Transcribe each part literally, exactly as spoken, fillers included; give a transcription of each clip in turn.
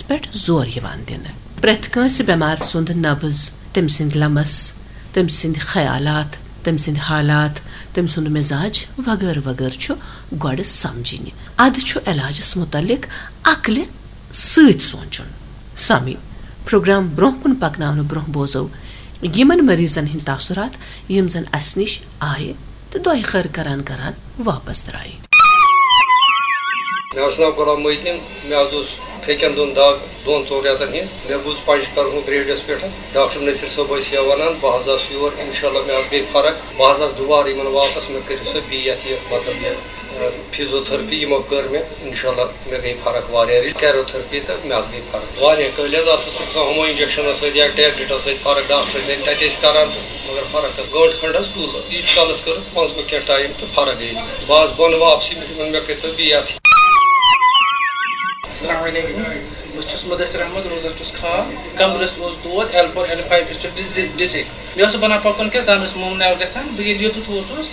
پٮ۪ٹھ زور یِوان دِنہٕ۔ پرٛٮ۪تھ کٲنٛسہِ بٮ۪مارِ سُنٛد نبض، تٔمۍ سٕنٛدۍ لمس، تٔمۍ سٕنٛدۍ خیالات، تٔمۍ سٕنٛدۍ حالات، تٔمۍ سُنٛد مزاج وغٲرٕ وغٲرٕ چھُ گۄڈٕ سمجھِنہِ۔ اَدٕ چھُ علاجس مُتعلق عقلہِ سۭتۍ سونٛچُن۔ سامعیٖن، پروگرام برٛونٛہہ کُن پکناونہٕ برٛونٛہہ بوزو یِمن مریضن ہٕنٛدۍ تاثرات، یِم زن اسہِ نِش آیہِ تہٕ دۄیہِ خٲر کران کران واپس درٛایہِ۔ مےٚ اوس ناو غلام محی الدین، مےٚ حظ اوس پھیٚکٮ۪ن دۄن دگ دۄن ژۄن رٮ۪تن ہٕنٛز۔ مےٚ بوٗز پنجہِ کرہُن گریڈس پٮ۪ٹھ، ڈاکٹر نصیر صٲب ٲسۍ یہِ ونان، بہٕ حظ آس یور، انشاءاللہ مےٚ حظ گٔے فرق۔ بہٕ حظ آس دُبارٕ یِمن واپس، مےٚ کٔرِو سا بیٚیہِ یتھ یہِ، مطلب، یہِ، اہ، فیزیوتھرپی، یِمو کٔر مےٚ، انشاءاللہ مےٚ گٔے فرق واریاہ رٕتۍ۔ کیروتھرپی تہٕ مےٚ حظ گٔے فرق واریاہ کٲلۍ حظ۔ اتھ اوس آسان ہُمو انجیکشنو سۭتۍ یا ٹیبلٹو سۭتۍ فرق، ڈاکٹر ٲسۍ تتہِ ٲسۍ کران تہٕ مگر فرق ٲس۔ گٲنٛٹہٕ کھنٛڈ حظ کُل، ییٖتِس کالس کٔرٕکھ، منٛزٕ گوٚو کینٛہہ ٹایم تہٕ فرق گٔے۔ بہٕ حظ بۄنہٕ واپسٕے، مےٚ دوٚپ، مےٚ کٔرۍتو بیٚیہِ اَتھ۔ السلام علیکم، بہٕ چھُس مُدثر احمد، روزان چھُس کھاہ۔ کمرس اوس دود، ایل فور ایل فایو پٮ۪ٹھ ڈِس-، ڈِسِک۔ مےٚ اوس بنان پکُن کینٛہہ، زن اوس موم ناو گژھان۔ بہٕ ییٚلہِ یوٚتَتھ ووتُس،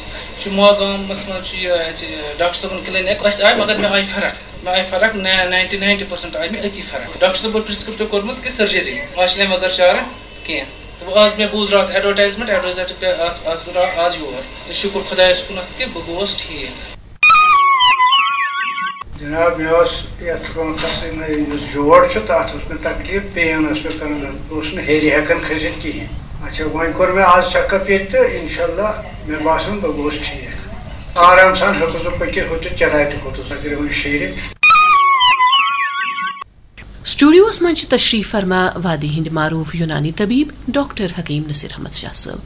چھُ ماگامس منٛز چھُ یہِ، یہِ ڈاکٹر صٲبُن کلینک۔ أسۍ آے، مگر مےٚ آیہِ فرق۔ مےٚ آیہِ فرق، نہ-، ناینٹی ناینٹی پٔرسنٹ آیہِ مےٚ أتی فرق۔ ڈاکٹر صٲبو پرسکرپٹ کوٚرمُت کہِ سرجری، آز چھِ اَمہِ بغٲر چارہ کینٛہہ۔ تہٕ وۄنۍ آز مےٚ بوٗز راتھ ایڈورٹائزمنٹ، ایڈورٹائزمنٹ پہ-، اتھ، آز کوٚر آز یور۔ تہٕ شُکر خۄدایَس کُنَتھ کہِ بہٕ گوس ٹھیٖک۔ جناب، مےٚ اوس یَتھ رونٛقَس سۭتۍ یُس جوڑ چھُ، تَتھ اوس مےٚ تکلیٖف، پین ٲس مےٚ کَران، بہٕ اوسُس نہٕ ہیٚرِ ہٮ۪کان کھٔسِتھ کِہیٖنۍ۔ اچھا، وۄنۍ کوٚر مےٚ آز چیک اپ ییٚتہِ تہٕ اِنشاء اللہ مےٚ باسان بہٕ گوس ٹھیٖک۔ آرام سان ہیوٚکُس بہٕ پٔکِتھ، ہُتہِ چڑایہِ تہِ کھوٚتُس، اگر وۄنۍ شیٖرِتھ۔ سٹوڈیوس منٛز چھِ تشریف فرما وادی ہٕنٛدۍ معروف یونانی طبیب ڈاکٹر حکیم نصیر احمد شاہ صٲب۔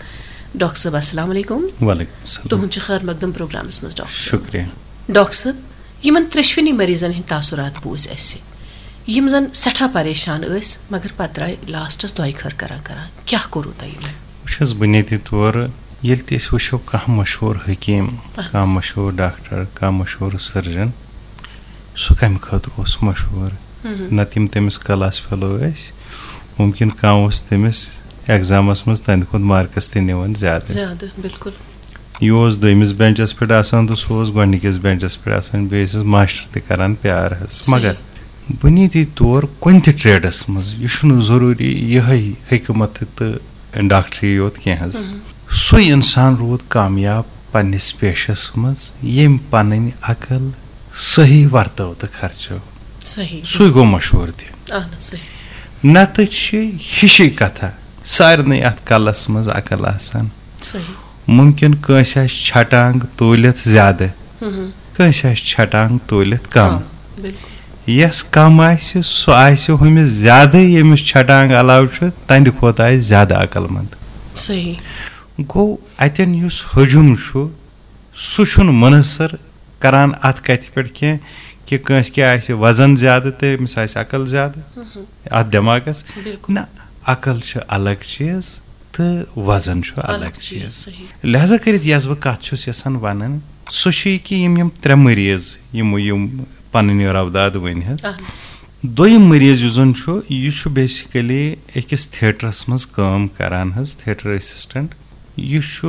ڈاکٹر صٲب، السلام علیکم۔ وعلیکم السلام۔ تُہُنٛد چھُ خیر مقدم پروگرامس منٛز، ڈاکٹر صٲب۔ شُکریہ۔ ڈاکٹر صٲب، یِمن ترٛیٚشوٕنی مریضن ہٕنٛدۍ تاثرات بوٗزۍ اَسہِ، یِم زن سٮ۪ٹھاہ پریشان ٲسۍ، مگر پتہٕ درٛاے لاسٹس دۄیہِ خٲر کران کران۔ کیٛاہ کوٚروٕ تۄہہِ یِمن؟ وٕچھ حظ، بُنیٲدی طور ییٚلہِ تہِ أسۍ وٕچھو کانٛہہ مشہوٗر حکیٖم، اَہَن حظ۔ کانٛہہ مشہوٗر ڈاکٹر، کانٛہہ مشہوٗر سٔرجن، سُہ کَمہِ خٲطرٕ اوس مشہوٗر؟ مہم۔ نَتہٕ یِم تٔمِس کلاس فیلو ٲسۍ، مُمکِن کانٛہہ اوس تٔمِس ایگزامَس منٛز تَہَنٛدِ کھۄتہٕ مارکس تہِ نِوان زیادٕ۔ زیادٕ، بِلکُل۔ یہِ اوس دوٚیمِس بینچَس پٮ۪ٹھ آسان تہٕ سُہ اوس گۄڈٕنِکِس بینچَس پٮ۪ٹھ آسان، بیٚیہِ ٲسِس ماسٹر تہِ کران پیار حظ۔ صحیح۔ مگر بُنیٲدی طور کُنہِ تہِ ٹریڈَس منٛز، یہِ چھُنہٕ ضروٗری یِہوٚے حکمت تہٕ ڈاکٹری یوت کینٛہہ حظ۔ مہم۔ سُے اِنسان روٗد کامیاب پننِس پیشَس منٛز، ییٚمۍ پنٕنۍ عقل صحیح ورتٲو تہٕ خرچٲو۔ صحیح۔ سُے گوٚو مشہوٗر تہِ۔ اہن حظ، صحیح۔ نتہٕ چھِ ہِشی کتھا، سارنٕے اتھ کلس منٛز عقل آسان۔ صحیح۔ ممکن کٲنٛسہِ آسہِ چھٹانگ تُلِتھ زیادٕ، مہم۔ کٲنٛسہِ آسہِ چھٹانگ تُلِتھ کم۔ کم، بِلکُل۔ یس کم آسہِ، سُہ آسہِ ہُمِس زیادٕ، ییٚمِس چھٹانگ علاوٕ چھُ، تہنٛدِ کھۄتہٕ آسہِ زیادٕ عقل مند۔ صحیح۔ گوٚو، اتٮ۪ن یُس ہجوم چھُ، سُہ چھُنہٕ منحصر کران اتھ کتھِ پٮ۪ٹھ کینٛہہ کہِ کٲنٛسہِ کیٛاہ آسہِ وزن زیادٕ تہٕ أمِس آسہِ عقل زیادٕ۔ مہم۔ اتھ دٮ۪ماغس۔ بِلکُل۔ نہ، عقل چھِ الگ چیٖز تہٕ وزن چھُ الگ الگ چیٖز، چیٖز۔ صحیح۔ لہذا کٔرِتھ یۄس بہٕ کتھ چھُس یژھان ونٕنۍ، سُہ چھُ یہِ کہِ یِم، یِم ترٛےٚ مریض، یِمو یِم پنٕنۍ روداد ؤنۍ حظ۔ اہن حظ۔ دوٚیِم مریض یُس زن چھُ، یہِ چھُ basically أکِس تھیٹرس منٛز کٲم کران حظ، تھیٹر اسسٹنٹ۔ یہِ چھُ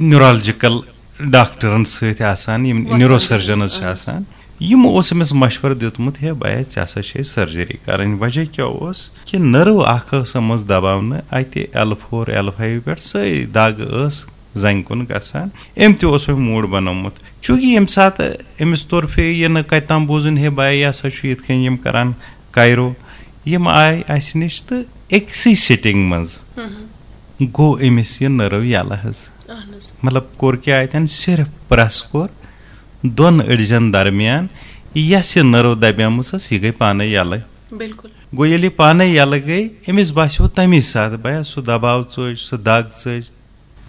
نیورولوجیکل ڈاکٹرن سۭتۍ آسان، یِم وۄتھان نیورو سرجنز چھِ اہن۔ آسان۔ یِمو اوس أمِس مشورٕ دیُتمُت، ہے بیا، ژےٚ ہسا چھے سرجری کرٕنۍ۔ وجہ کیٛاہ اوس کہِ نٔرو اکھ ٲس آمٕژ دباونہٕ اتہِ ایل فور، ایل فایو پٮ۪ٹھ، سۄے دگ ٲس زنٛگہِ کُن گژھان۔ أمۍ تہِ اوس وۄنۍ موٗڈ بنومُت، چوٗنٛکہِ ییٚمہِ ساتہٕ أمِس توٚر فے یہِ نہٕ کتہِ تام بوزُن، ہے بیا، یہِ ہسا چھُ یِتھ کٔنۍ یِم کران کایرو، یِم آے اسہِ نِش تہٕ أکسٕے سٹنگ منٛز مہم۔ گوٚو أمِس یہِ نٔرو یلہٕ حظ۔ اہن حظ۔ مطلب، کوٚر کیٛاہ اتٮ۪ن؟ صرف پریس کوٚر، دۄن أڈجن درمیان یۄس یہِ نٔرو دبیمٕژ ٲس، یہِ گٔے پانے یلہٕ۔ بِلکُل۔ گوٚو، ییٚلہِ یہِ پانے یلہٕ گٔے، أمِس باسیو تمی ساتہٕ، بیا، سُہ دباو ژٔج، سُہ دگ ژٔج،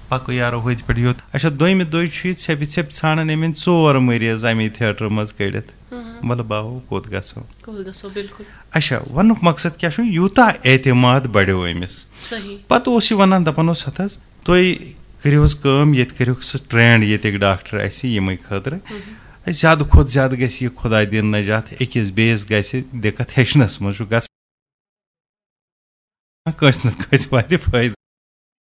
پکو یارو، ہوٚتہِ پٮ۪ٹھ یوٚت۔ اچھا، دوٚیمہِ دۄہہِ چھُ یہِ ژھیٚپہِ ژھیٚپہِ ژھانڈان أمۍ أنۍ ژور مریض امی تھیٹرٕ منٛز کٔڑِتھ۔ مہم۔ مطلب، باہو، کوٚت گژھو؟ کوٚت گژھو، بِلکُل۔ اچھا، وننُک مقصد کیٛاہ چھُ؟ یوٗتاہ اعتماد بڑیو أمِس۔ صحیح۔ پتہٕ اوس یہِ ونان، دپان اوس، ہتہٕ حظ، تُہۍ کٔرِو حظ کٲم، ییٚتہِ کٔرِوکھ سُہ ٹرینڈ ییٚتِکۍ ڈاکٹر اَسہِ یِمے خٲطرٕ۔ مہم۔ اَسہِ زیادٕ کھۄتہٕ زیادٕ گژھِ یہِ خۄداے دِنۍ نجات، أکِس بیٚیِس گژھِ دِقت ہیٚچھنَس منٛز چھُ گژھان۔ کٲنٛسہِ نَتہٕ کٲنٛسہِ واتہِ فٲیدٕ۔